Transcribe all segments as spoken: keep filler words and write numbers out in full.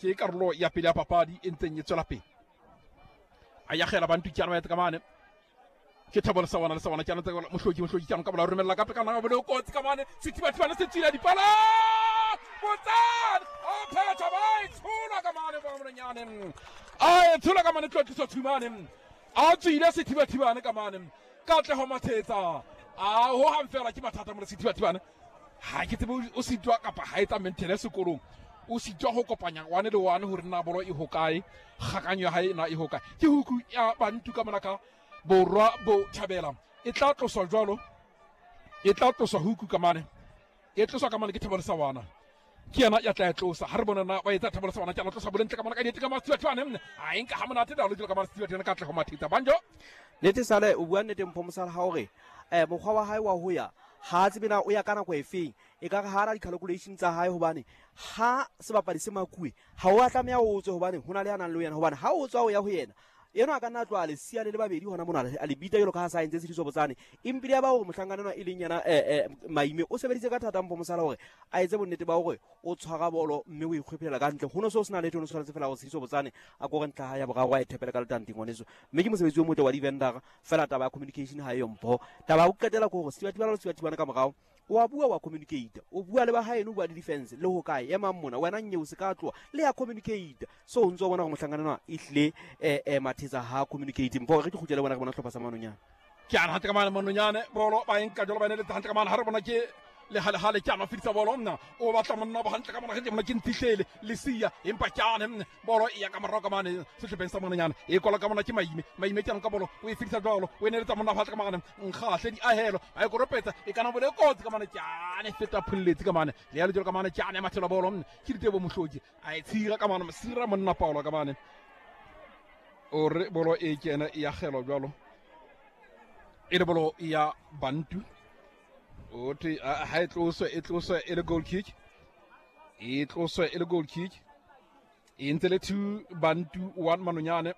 Ke karolo ya pele ya papadi e ntseng e tswela pele. A yagela Bantu ke ana ba ka mane. Ke Thabo le Sawana le Sawana ke ana tsa Mohloki Mohloki ke ana ka bola romella ka pekana ba le kotsi ka mane. Sethibathibane se tswile dipala. Botsane a phetha ba e tshola ka mane ba mononyane. A e tshola ka mane tlotliso Thumane. A tswile sethibathibane ka mane. Katleho Mathetsa. A ho hang fela ke mathata mo sethibathibane. Ha ke tsebe o sitwa kapa ha etsa maintenance sekolong. O sitwa ho kopanya one le one hore na bolo e hokae, kgakanyo ya hae na e hokae. Ke huku ya Bantu ka mona ka borwa bo thabela. E tla tloswa jwalo. E tla tloswa huku ka mane. E tloswa ka mane ke Thabo le Sawana. Ke yena ya tla e tlosa. Ha re bona na ba etsa Thabo le Sawana ke a tlosa bolentle ka mona ka diete ka Mathibathibane. A e nka ha monate da lo ka Mathibathibane ka tle ho Mathetsa. Banjo. Nete sale o bua nnete Mpho Mosala ha hore eh mokgwa wa hae wa ho ya ha tsebe na o ya ka nako e feng, e ka re ha ra di-calculation tsa hae, hobane ha sebapadi se makuwe ha o a tlameha o tswe, hobane ho na le ya nang le yena, hobane ha o tswa o ya ho yena eno a ka nna a tloha lesia le le babedi hona mona a le bita jalo ka ha sa entse Tshediso Botsane. Empile ya ba hore mohlankana enwa e leng yena eh, eh, Maime o sebeditse ka thata Mpho Mosala hore a etse bonnete ba hore o tshwara bolo mme o ikgwephelela ka ntle. Ho no se o sena letho, o no tshwanetse fela hore Tshediso Botsane a kore ntlha ha ya boraro a e thepele ka letanteng ngwaneso. Mme ke mosebetsi o motle wa di-vendor, fela taba ya communication ha eyo Mpho. Taba ya ho qetela ke hore Sethibathibane le Sethibathibane ka morao o a bua, wa communicate, o bua le ba haeno, o bua le defense le ho kae emang mona wena nyeo se ka tloha le ya communicate. So o ntso bona hore mohlankana enwa ehlile eh, eh, Mathetsa ha communicate. Mpho re ke kgutlele bona re bona hlopha sa Manonyane. Ke ana hantle ka mane Manonyane bolo ba enka jalo ba ne le hantle ka mane ha re bona ke le hale hale ke ana fitsa bolo nna o batla monna ba hantle ka mona ke mona ke ntihlele lesia empa ke ane bolo e ya ka morao ka mane sehlopheng sa Manonyane e kola ka mona ke Maime Maime ke ana ka bolo o e fitsa jalo o e neletsa monna hantle ka mane nkgahle di ahelo a e koropetsa e kana bole kotsi ka mane ke ane feta phulletse ka mane le ya le jalo ka mane ke ane mathela bolo ke ditebo Mohloki a e tshira ka mane sira monna Paulo ka mane o re bolo e kena e ya gelo jalo e le bolo ya Bantu. O thwe ha e tloswe e tloswe e le goal kick, e tloswe e le goal kick. E ntse le two Bantu one Manonyane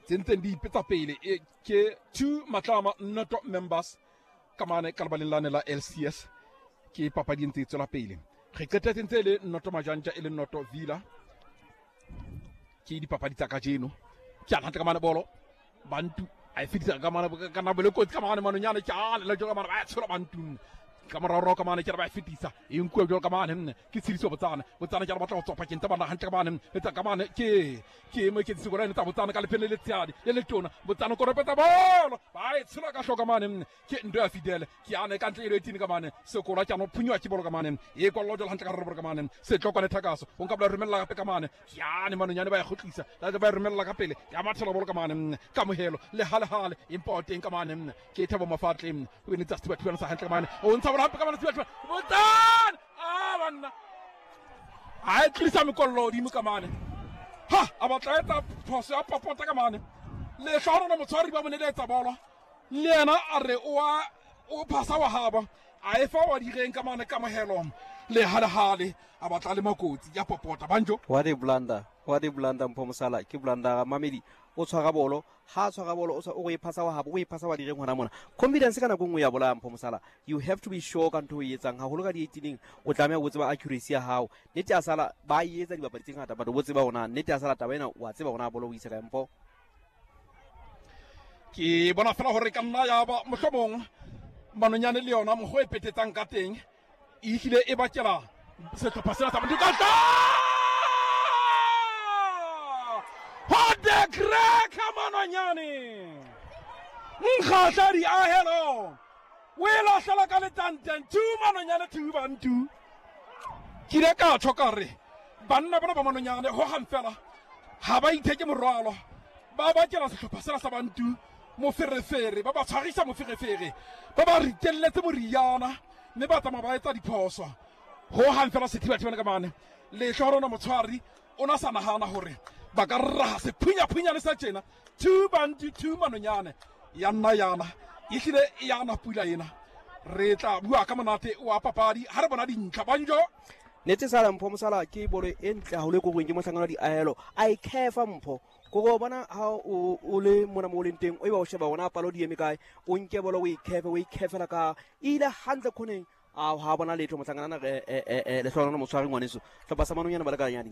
tse ntseng di ipetsa pele e ke two Matlama not members ka mane ka lebaleng lane la L C S. Ke papadi e ntse e tswela pele. Re qetetse ntse le noto Majanja e le noto Villa. Ke dipapadi tsa kajeno. Ke ana hantle ka mane bolo Bantu a e fetisa ka mane ka nako le kotsi ka mane Manonyane ke a le jalo ka mane ba tshola Bantu ka morao ka mane ke re ba e fetisa e nkuwe jalo ka mane ke Tshediso Botsane Botsane ke re batla go tswa pakeng tsa bana hantle ka mane etsa ka mane ke ke mo ke tsiko tsa Botsane ka lephele le tsadi le letona Botsane koropetsa bolo ba e tshola ka hloka mane ke ndo ya Fidel ke ane ka ntle e tini ka mane sekola ke ano phunywa ke bolo ka mane e kwallo jalo hantle ka re ka mane setlokwane thakaso o nka bla romella gape ka mane ke ane Manonyane ba e kgutlisa la ba e romella ka pele ya mathela bolo ka mane kamohelo le hale hale important ka mane ke Thabo Mafatle o ne tsa Sethibathibane sa hantle ka mane o ntsha bolo hape ka mane Sethibathibane Botsane a banna a e tlisa mekollo hodimo ka mane ha a batla etsa phoso ya popota ka mane le hlahona motshwari ba mo neletsa bolo le yena a re o a o phasa wa haba a e fa wa direng ka mane kamohelo le hale hale a batla le makotsi ya popota banjo. What a blunder, what a blunder Mpho Mosala. Ke blunder Mamedi o tshwara bolo ha tshwara bolo o o e phasa wa habo o e phasa wa direng hona mona. Confidence ka nako nngwe ya bolaya Mpho Mosala. You have to be sure ka ntho e etsang haholo ka di-eighteen o tlameha o tseba accuracy ya hao. Nnete ya sala ba e etsa dibapadi tse ngata but o tseba hona nnete ya sala taba ena wa tseba hona bolo o isa kae Mpho. Ke bona fela hore ka nna ya ba mohlomong Manonyane le yona mokgwa e petetsang ka teng e hlile e bakela sehlopha sena sa Bantu ka tla What the crack Manonyane nkgahla di ahelo o e lahlela ka letanteng two Manonyane two Bantu. Ke ile ka tjho ka re banna bona ba Manonyane ho hang fela ha ba itheke morwalo ba bakela sehlopha sena sa Bantu moferefere ba ba tshwarisa moferefere ba ba ritelletse moriana mme ba tsamaya ba etsa diphoso ho hang fela Sethibathibane ka mane lehlorona motshwari o na sa nahana hore ba ka raha sephunyaphunyaane sa tjena two Bantu two Manonyane ya nna yana e hlile e yana pula ena. Re tla bua ka monate wa papadi ha re bona dintlha banjo. Nete sala Mpho Mosala ke bolo e ntle haholo e korweng ke mohlankana wa diahelo a e khefa Mpho kore o bona ha o o le mona mo o leng teng o eba o sheba hona palo di eme kae o nke bolo o e khefe o e khefela ka ile hantle khoneng a ha bona letho mohlankana re e e lehlohonolo motshwari ngwaneso hlopha sa Manonyane ba le ka nyane.